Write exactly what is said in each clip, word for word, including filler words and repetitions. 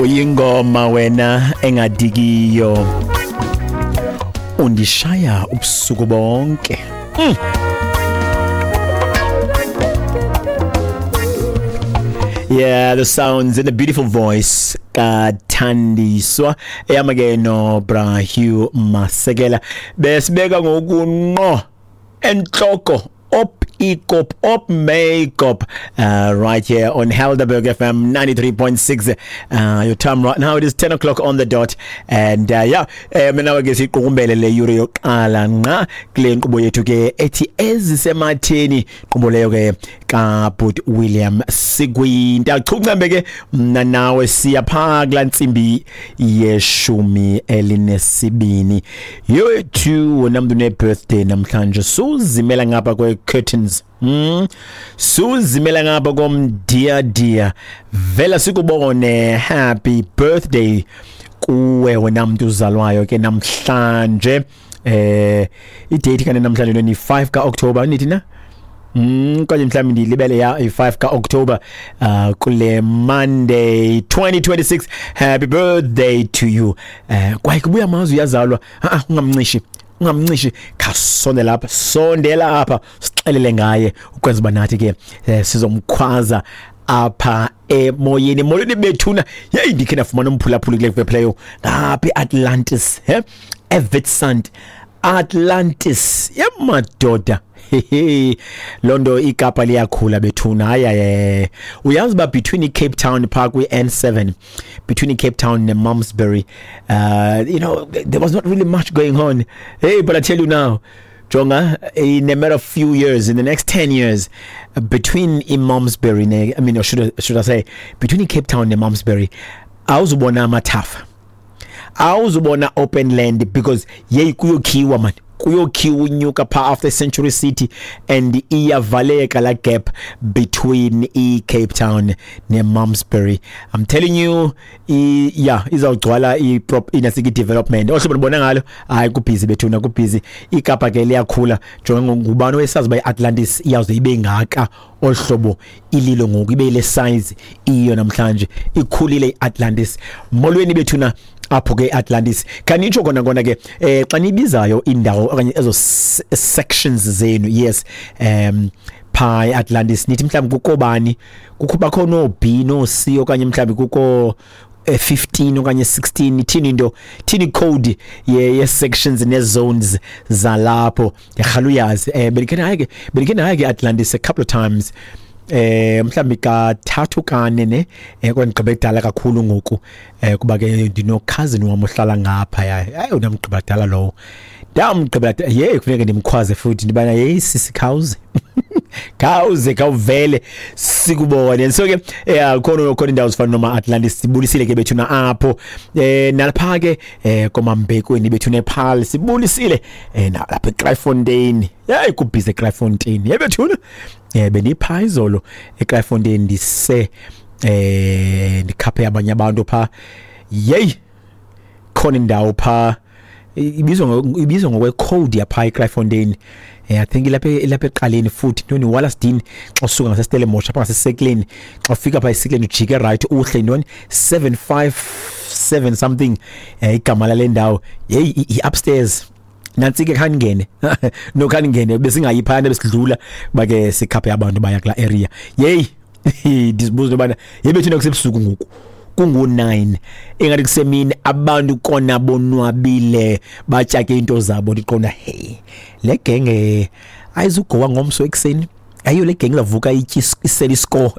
Uyingoma wena engadikiyo, undishaya ubusuku bonke. Mm. Yeah, the sounds and the beautiful voice kaThandiswa eyama ke no Bra Hugh Masekela. Besibeka ngokunqo enhloko op ikop op makeup uh, right here on Helderberg F M ninety-three point six. Uh, your time right now it is ten o'clock on the dot, and uh, yeah, eh, mina ke siqukumbele le yure yoqala nqa kule nkqubo yethu ke ethi ezisematheni, nkqubo leyo ke kaBut William Sigwinta. Chuncambe ke mna nawe siya pha kula ntsimbi yeshumi elinesibini. Yethu wena mntu ne birthday namhlanje, suzimela ngapha kwe curtains. Mm. Suzimela ngapha komdia dia, vela sikubone. Happy birthday kuwe wena mntu uzalwayo ke namhlanje. Eh idate kane namhlanje ni five ka October nithi na? Mm, kanye mhlawumbe ndilibele ya i-five ka October uh, kule Monday twenty twenty-six. Happy birthday to you. Eh kwaye kubuya amazwi yazalwa. Ah ungamncishi ungamncishi khasondela lapha, sondela apha sixelele ngaye ukwenza uba nathi ke eh, sizomkhwaza apha emoyeni. Molweni bethuna. Hey, ndikhe ndafumana umphulaphuli kule playo ngapha eAtlantis, he eWitsand Atlantis yemadoda. Hehe, londo iKapa liyakhula bethuna. Hayi, uyazi ba between iCape Town Park we N seven, between iCape Town and Malmesbury, uh you know there was not really much going on. Hey, but I tell you now, jonga, in a matter of few years, in the next ten years, between iMalmesbury, I mean, or should I, should I say between iCape Town and Malmesbury, awuzubona amathafa, awuzubona open land, because yeyi kuyokhiwa man, kuyokhiwa unyuka pha after Century City, and iyavaleka la gap between i Cape Town ne Malmesbury. I'm telling you, i, yeah, izawugcwala i prop inasiki development ohlobo nibona ngalo. Hayi kubhizi bethuna, kubhizi. iKapa ke liyakhula. Jonga ngubani owesazi ba iAtlantis iyawuze ibe ngaka ohlobo ililo ngoku, ibe ile size iyo namhlanje, ikhulile iAtlantis. Molweni bethuna apho ke Atlantis. Kanitsho kona kona ke eh xa nibizayo indawo okanye ezo sections zenu, yes, um pha eAtlantis nithi mhlawumbi kukho bani, kukho bakho no B no C okanye mhlawumbi kukho fifteen okanye sixteen, ithini into, thini code ye, ye sections ne zones zalapho. Ndiyarhala uyazi eh belikhe naye ke belikhe naye ke Atlantis a couple of times, eh mhlawumbi kathathu kane ne, eh kwandigqiba kudala kakhulu ngoku, eh kuba ke ndino cousin wam ohlala ngapha. Hayi unamgqiba kudala lowo, ndamgqiba ye kufuneka ndimkhwaze futhi ndibana hey sisi khawuze khawuze khawuvele sikubone. So ke eh khona khona indawo zifana noma Atlantis, sibulisile ke bethuna apho, eh nalapha ke eh koMambekweni bethuna ePaarl sibulisile, eh nalapha eKraaifontein. Hey kubhize eKraaifontein yebethuna. Eh benipha izolo eKraaifontein ndise eh ndikhaphe abanye abantu pha. Yey khona indawo pha ibizwa ibizwa ngokwe code yapha eKraaifontein. Eh I think ilapha ilapha eqaleni futhi ntoni Wallace Dean, xa usuka ngaseStellenbosch apha ngaseSekleni, xa ufika pha eSekleni ujike right uhle ntoni seven five seven something, eh igama lale ndawo. Hey i upstairs nansi ke khaningene no khaningene besingayiphana besidlula bake sikhaphe abantu baya kula area. Hey ndizibuza bana yebethuna kusebusuku ngoku kungu nine engathi kusemini, abantu kona bonwabile batyake into zabo. Ndiqonda hey le genge ayizugowa ngomso ekseni, ayiyo le genge lavuka iseli score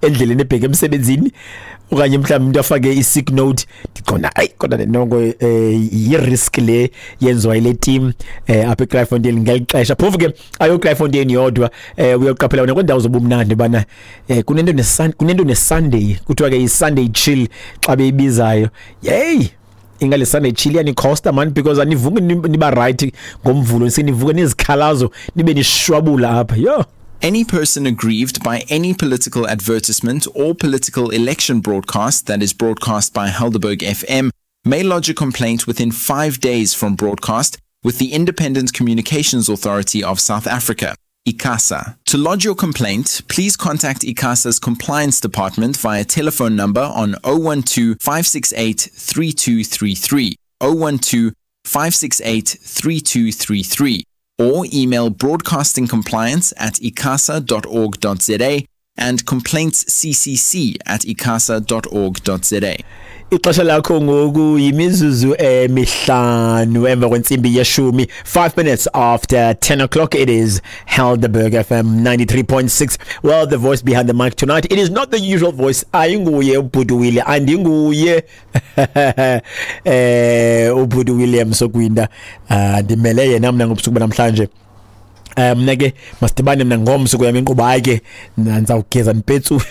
endleleni ebheke emsebenzini, okanye mhlawumbe umuntu afake i-sick note. Ndiqonda ayi kodwa nongo yi-risk le yenziwa ile team eh apha eKraaifontein ngeli xesha. Phofu ke ayo Kraaifontein yodwa, eh uyoqaphela wena kwiindawo zobumnandi bana eh kunento ne kunento ne Sunday, kuthiwa ke i-Sunday chill xa beyibizayo. Hey ingale Sunday chill yani costa man, because anivuki niba right ngomvulo, sinivuke nizikhalazo nibe nishwabula apha. Yo. Any person aggrieved by any political advertisement or political election broadcast that is broadcast by Helderberg F M may lodge a complaint within five days from broadcast with the Independent Communications Authority of South Africa. ICASA. To lodge your complaint, please contact ICASA's compliance department via telephone number on oh one two, five six eight, three two three three, oh one two, five six eight, three two three three, or email broadcastingcompliance at icasa dot org dot z a and complaintsccc at icasa dot org dot z a. Ixesha lakho ngoku yimizuzu emihlanu emva kwentsimbi yeshumi, five minutes after ten o'clock. It is Helderberg F M ninety-three point six. Well, the voice behind the mic tonight, it is not the usual voice. Ayinguye uBhuti Willie, andinguye eh uBhuti William Sokwinda. Ndimele yena mna ngobusuku banamhlanje. Um mna ke masidibane mna ngomso kuyami inkqubo, hayi ke ndizawugeza ndipetsu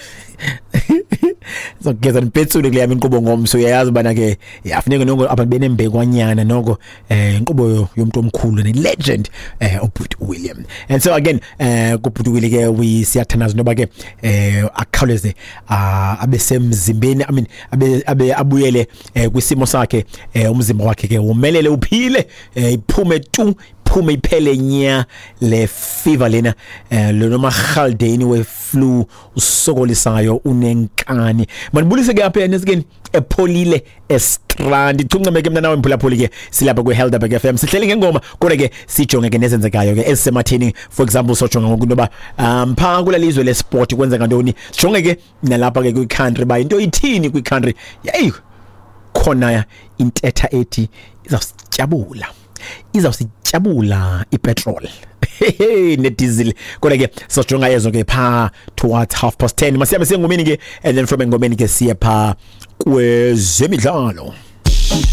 ndizawugeza ndipetsule kule yam inkqubo ngomso. Uyayazi ubana ke yafuneka noko abantu benembekwanyana noko eh inkqubo yomntu omkhulu ne-legend eh uBhuti William. And so again eh kuBhuti Willie ke we siyathandaza noba ke eh akhawuleze abe semzimbeni, I mean abe abe abuyele kwisimo sakhe, umzimba wakhe ke womelele uphile, iphume tu phume iphele nya le fever lena eh lo marhaldeni we flu usokolisayo unenkani. Manibulise ke apha enesikeni epholile estrand ichungceme ke mna nawe mphulaphuli ke silapha kwe Helderberg F M sihleli ngengoma kodwa ke sijonge ke nezenzekayo ke ezisematheni. For example sojonga ngoku into yoba um pha kula lizwe le sport kwenzeka ntoni, sijonge ke nalapha ke kwi country ba into ithini kwi country. Yeyi khona intetha ethi izawusityabula izawusityabula ipetrol nediesel. Kodwa ke sojonga yezo ke pha towards half past ten. Masihambe siye engomeni ke, and then from engomeni ke siye pha kwezemidlalo.